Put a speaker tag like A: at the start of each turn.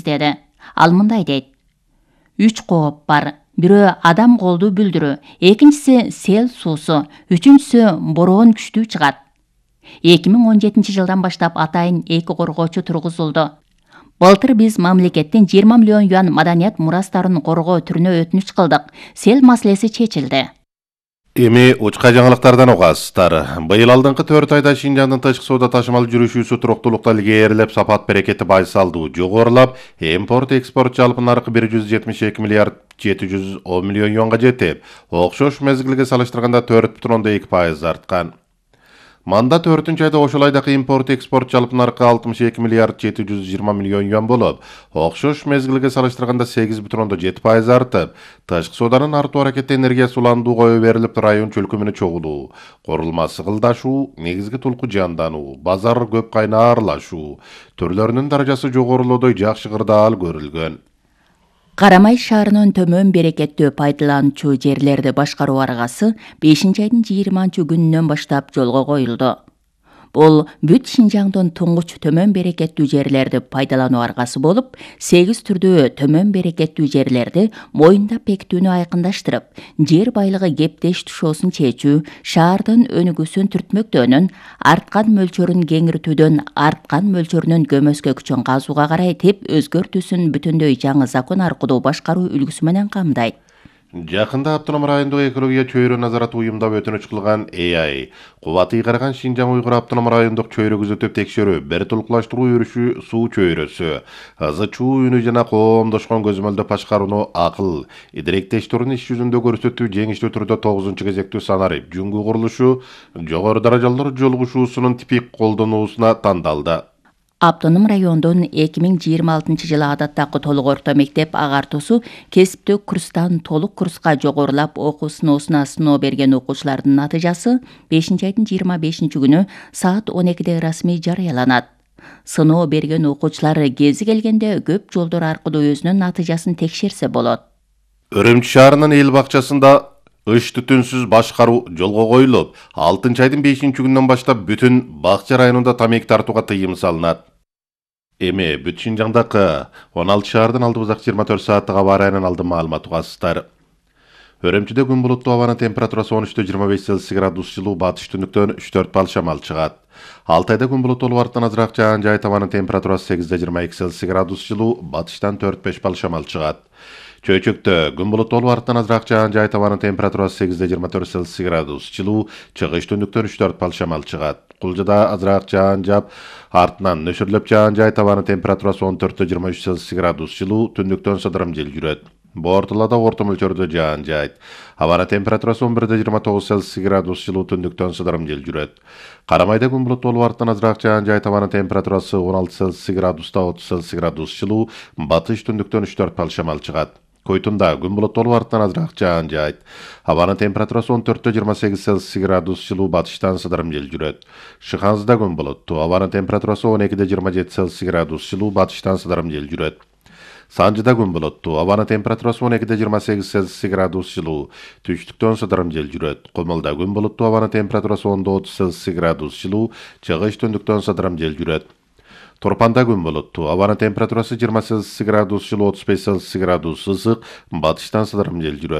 A: иштеди. Ал мындай дейт: 3 кооп бар. Бирөө адам колду бүлдүрүү, экинчиси сел суусу, үчүнчүсү бороон күчтүү чыгат. 2017 жылдан баштап атайын 2 коргоочу тургузулду. Былтыр биз мамлекеттен 20 миллион юан маданият мурастарын коргоо түрүнө өтүнүч кылдык. Сел маселеси чечилди.
B: Эми учка жаңылыктардан угасыздар. Быйыл алдыңкы 4 айда Шинжаңдын тышкы соода ташымал жүрүшүүсү туруктуулукта илгээрилеп, сапат берекети байсалдуу жогорулап, импорт-экспорт жалпы наркы 172 миллиард 710 миллион юанга жетип, окшош мезгилге салыштырганда 4,2% арткан. Манда 4 айда ошол айдагы импорт-экспорт жалпы наркы 62 миллиард 720 миллион юан болуп, окшош мезгилге салыштырганда 8,7% артып, тышкы сооданын артуу аракети энергиясы уландуу кое берилип, район чөлкөмүнө чогулуу, курулмасы кылдашуу, негизги тулку жандануу, базар көп кайнаарлашуу түрлөрүнүн даражасы жогорулоодой жакшы кырдаал көрүлгөн.
A: Карамай шаарынын төмөн берекеттүү пайдалануучу жерлерди башкаруу аргасы 5-айдын 20-күнүнөн баштап жолго коюлду. Бул бүт Шинжаңдын туңгуч төмөн берекеттүү жерлерди пайдалануу аргасы болуп, 8 түрдүү төмөн берекеттүү жерлерди моюндап бекитүүнү айкындаштырып, жер байлыгы кептеш тушоосун чечүү, шаардын өнүгүүсүн түртмөктөөнүн, арткан мөлчөрүн кеңиртүүдөн арткан мөлчөрүнүн көмөскө күчүн казууга карай теп өзгөртүүсүн бүтүндөй жаңы закон аркылуу башкаруу үлгүсү менен камдайт.
B: Жакында автоном райондук экология чөйрө назараты уюмдап өтүнүч кылган ЭАИ, кубаты ыйгарган Шинжаң Уйгур автоном райондук чөйрө күзөтүп текшерүү, бир тулукташтыруу өрүшү суу чөйрөсү, ызы чуу үнү жана коомдошкон көзөмөлдөп башкарууну акыл, идиректештирүүнү иш жүзүндө көрсөтүү жеңиштүү түрдө 9-кезектүү санарип жүнгү курулушу, жогору даражалуу жолугушуусунун типик колдонуусуна тандалды.
A: Автоном райондун 2026 жылы адаттагы толук орто мектеп агартуусу кесиптүү курстан толук курска жогорулап окуу сыноосуна сыноо берген окуучулардын натыйжасы 5-айдын 25-күнү саат 12-де расмий жарыяланат. Сыноо берген окуучулар кези келгенде көп жолдор аркылуу өзүнүн натыйжасын текшерсе болот.
B: Өрөмчү шаарынын эл бакчасында ыш түтүнсүз башкаруу жолго коюлуп, 6-айдын 5-күнүнөн баштап бүтүн бакча районунда тамеки тартууга тыйым салынат. Эми бүт Шинжаңдагы 16 шаардын алды бузак 24 сааттык аба ырайынан алдын маалымат угасыздар. Өрөмчүдө күн булуттуу, абанын температурасы 13-25 Цельсий градус жылуу, батыш түндүктөн 3-4 балл шамал чыгат. Алтайда күн булуттуу болуп, арттан азыраак жаан жайып, абанын температурасы 8-22 Цельсий градус жылуу, батыштан 4-5 балл шамал чыгат. Чөйчөктө күн булуттуу болуп, арттан азыраак жаан жайып, абанын температурасы 8-24 Цельсий градус жылуу, чыгыш түндүктөн 3-4 балл шамал чыгат. Кулжада азыраак жаан жаап, артынан нөшөрлөп жаан жайып, абанын температурасы 14-23 Цельсий градус жылуу, түндүктөн сыдырым жел жүрөт. Бортулада орто мөлчөрдө жаан жайт. Абанын температурасы 11-29 Цельсий градус жылуу, түндүктөн сыдырым жел жүрөт. Карамайда күн булуттуу болуп, арттан азыраак жаан жайып, абанын температурасы 16 Цельсий градуста 30 Цельсий градус жылуу, батыш түндүктөн 3-4 балл шамал чыгат. Койтунда күн булуттуу болуп, арттан азыраак жаан жайт. Абанын температурасы 14-28 Цельсий градус жылуу, батыштан сыдырым жел жүрөт. Шыханзыда күн булуттуу, абанын температурасы 12-27 Цельсий градус жылуу, батыштан сыдырым жел жүрөт. Санжыда күн булуттуу, абанын температурасы 12-28 Цельсий градус жылуу, түштүктөн сыдырым жел жүрөт. Комулда күн булуттуу, абанын температурасы 10-30 Цельсий градус жылуу, чыгыш түндүктөн сыдырым жел жүрөт. Торпанда күн булуттуу, абанын температурасы 20 Цельсий градус жылуу, 35 Цельсий градус ысык, батыштан сыдырым жел жүрөт.